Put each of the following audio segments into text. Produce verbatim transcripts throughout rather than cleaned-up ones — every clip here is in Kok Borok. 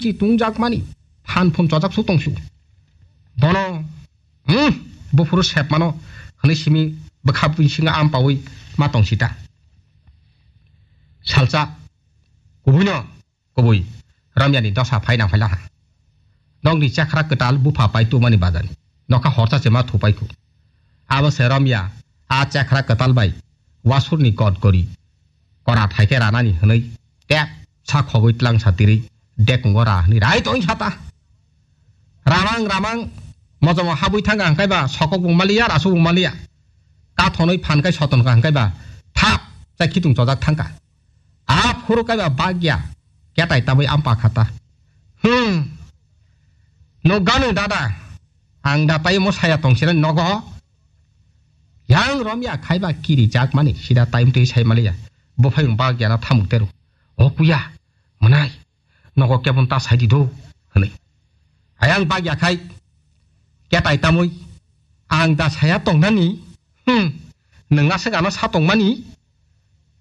Ti tungjakmani phan phun chojak su tongsu. Bono, hmm, buphuru sepmano hwnwi simi bwkha bisingo am paui ma tongsita. Salsa kubuino kubui Ramyani dosa phai nang phai laha. Nokni chakra kwtal bupha pai tumani bajani. Nokha horsa se ma thupai khu. Abo se Ramya a chakra kwtal bai wasurni kot gori kora thaike ranani hwnwi tep sa khogwi tlang sa tiri dekungo ra hwnwi rai tong sata. Ramang ramang mojomo habwi thangka hwnkhe ba sokok bo maliya, rasuk bo maliya. Kathonwi phan kai soton ka hwnkhe ba thap chai khitung chojak thangka. A phuru kaiba bagya ketai tabwi ampa khata. Hmm. No ganu dada. Ang da tai mo saya tong sira nogo. Yang Ramya khaiba kiri jak mani sida time twi sai maliya. Bo phai bagya na thamuk teru. O kuya. Mwnai. Nogo kebon ta sai di do. Hwnwi. Ayang bagya khai. Ketai tamwi. Ang da saya tong nani. Hmm. Nang aswk ano sa tong mani.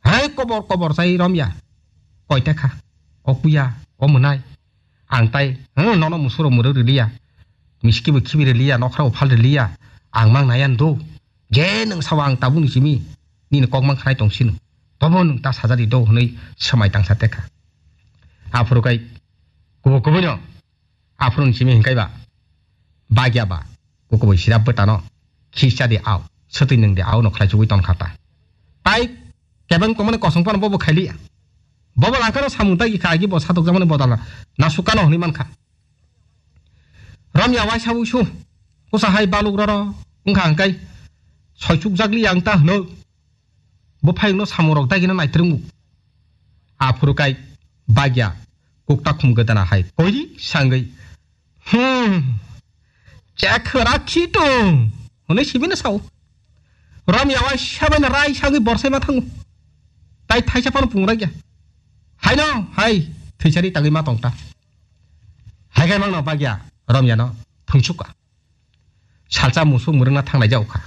Hai kobor kobor chai Ramya. Koita kha. O kuya, o mwnai. Ang tai, hmm, nono musuro muro riliya. Miski bo khibi riliya, nokra bo phal riliya. Ang mang nayan do. Je nang sawa ang tabuk ni simi. Nini kok mang khanai tong sino. Tobo nang ta sajari do hwnwi swmai tangsa tekha. Aphuru kai kubo kubo no. Aphuru ni simi hingkai ba. Bagya ba. Kukubai sirap bwtano khisa di au, swtwi nwng di au no khlai chugwi ton kha ta. Tai kebeng tongmani kosong phano bobo khailiya. Bobo langkano samung tagi kha agi bo satokjakmani bodal nasukano hwnwi mankha. Ramya waisa uisu kusa hai baluk roro wngkha hwnkhe soichukjakliya ang ta hwno. Bo phayungno samung rok dagina naitrwngmung. Aphuru kai bagya kukta khum gdana hai koiri sangwi, "Hmm, chekhwra khitung," hwnwi sibino sao. Ramya waisa baino rai sangwi borsai ma thango. Tai thaisa phano pungragya. Haino hai thwisari tangwi ma tongta. Haikai mangno bagya Ramyano thwngsuka. Salsa musuk mwrwngna thanglai jaokha.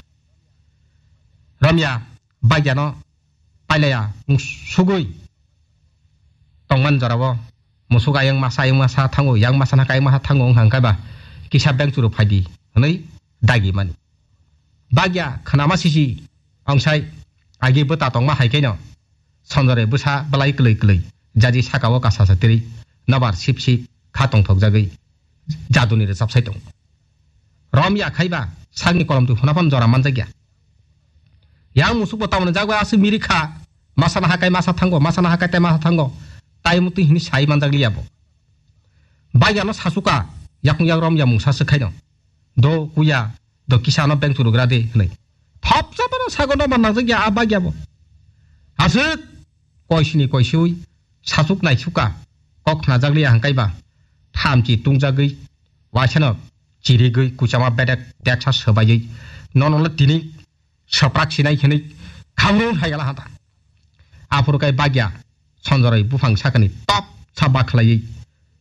Ramya bagyano pailaya sugwi tongman jorao musuk ayang masa ayang masa thango, yang masa na kayang masa thango wngkha hwnkhe ba kisa bengchuru phaidi hwnwi dagi mani. Bagya khnama sisi ongsai agi bwta tongma hai khaino Sonjore bwsa bwlai kwlwi kwlwi jaji sakao kasa sa tiri nobar sip sip kha tongthokjagwi jaduni rwchapsai tongo. Rom ya khaiba sakni kolomtwi hwnaphan jora manjakya. Yang musukbo tamoni jagwi aswk miri kha, masa naha kai masa thango, masa naha kai tai masa thango, tai mutwi hini sai manjakliya bo. Bagyano sachuka, yakung yak rom ya mungsa swkhaino. Do kuya, do kisa no beng churugra de hwnwi. Thopsa bono sago no mannang jakya a bagya bo. Aswk koisini koisui sachuk nai suka kok khna jakliya hangkai ba. Thamchi tungjagwi waisano chirigwi kuchama bedek deksa swbaiwi nono le tini swprak sinai hwnwi khamrung hai gala hata. Aphuru kai bagya sonjoroi buphang sakani top sa bakhlaiwi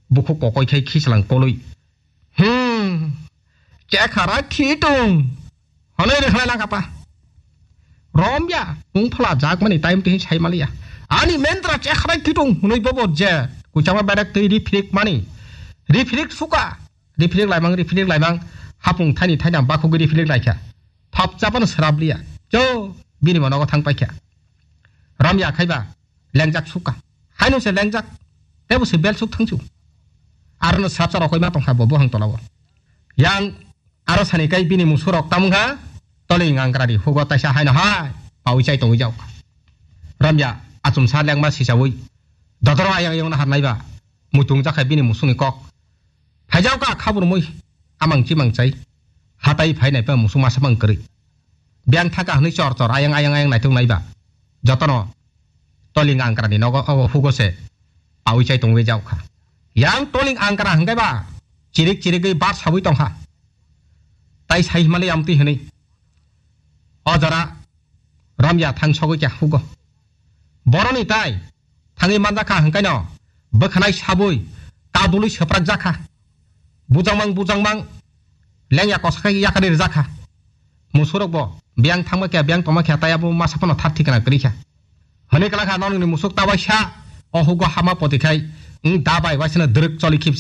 bukhuk kokoi khai khichlang kolwi Hmm. Chekhara khitung. Honoi rwkhlai langkha pa. Romya, wng phala jakmani time twi sai maliya. Ani mendra chekhara khitung, hwnwi bobo je. Kuchama berak twi rifrik mani. Rifrik suka. Rifrik laimang, rifrik laimang. Hapung thani thainang bakhugwi rifrik laikha. Thopchapano swrabliya. Cho, bini monogo thang paikha. Romya khaiba. Lengjak suka. Haino se lengjak. Tebo se bel suk thangsu. Arono srapsa rokoi ma tongkha bo buhang tolao. Yang aro sani kai bini musurok tamungha toli ngangrari hugo taisa haino hai pawi chai tongwi jaokha. Romya achumsa lengma sisawi dodoro ayang ayang nahar naiba muitung jakha bini musungni kok. Phaijao ka khabur mui amang chimang chai. Hatai phainai pa musung masa mang kwrwi. Biyang thaka hwnwi chor chor ayang ayang ayang naitung naiba. Jotono toling angkrani nogo ogo hugo se pawi chai tongwi jaokha. Yang toling angkra hwnkhe ba chirik chirigwi bar sawi tongkha. Tai sai himali amtwi hwnwi. O jora romya thang sogwi kya hugo. Boroni tai thangwi manjakha hwnkhaino bwkhanai sabwi kadulwi swprak jakha. Bujangmang bujangmang lengya kosa khai yakari rwjakha. Musurokbo biyang thangma khe biyang tongma khe tai abo masa phano thar thikna kwrwi kha. Hwnwi kwlakha nokni musuk ta waisa o hugo hama poti khai wng da bai waisano dwrwk choli khibsa.